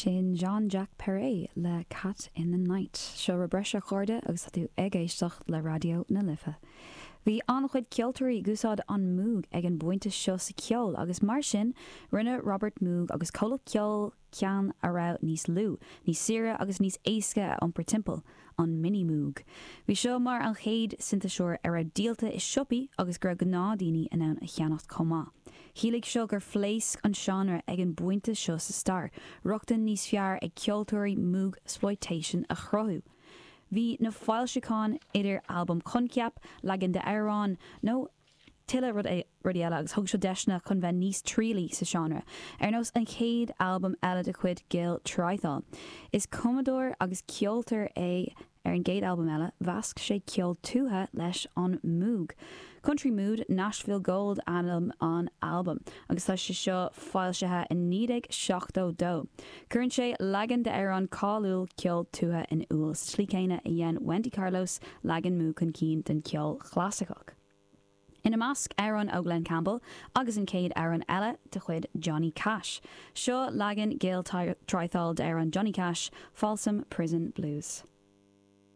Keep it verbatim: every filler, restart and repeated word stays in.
Sin Jean-Jacques Perrey le Cat in the Night. Seo rud breise a chairde agus tú ag éisteacht le Raidió na Life. Bhí an-chuid ceoltóirí ag úsáid an Moog ag an bpointe seo sa ceol agus mar sin rinne Robert Moog agus comhlacht ceoil ceann a raibh níos lú, níos saoire agus níos éasca a iompar timpeall an Minimoog. Bhí seo mar an chéad sintéiseoir a raibh díolta i siopaí agus go raibh gnáthdaoine in ann a cheannacht chomh maith. Chiallaigh seo gur phléasc an seánra ag an bpointe seo sa stair, rochtain níos fearr ag ceoltóirí Moogsploitation a chruthú. Bhí na foilseacháin idir albam coincheap, leagan d'amhrán nó tuilleadh rudaí eile agus thug seo deiseanna chun bheith níos trialaí sa seánra. Ar nós an chéad albam eile de chuid Gil Trythall. Is cumadóir agus ceoltóir é ar an gcéad albam eile, mheasc sé ceol tuaithe leis an Moog. Country Mood Nashville Gold ainm an albam, agus tá sé seo foilsithe in naoi déag seachtó dó. Cuireann sé leagan d'amhrán cáiliúil ceol tuaithe in iúl sa tslí céanna a dhein Wendy Carlos leagan Moog chun cinn den ceol chlasaiceach. Ina measc amhrán ó Glen Campbell agus an chéad amhrán eile de chuid Johnny Cash. Seo leagan Gil Trythall d'amhrán Johnny Cash, Folsom Prison Blues.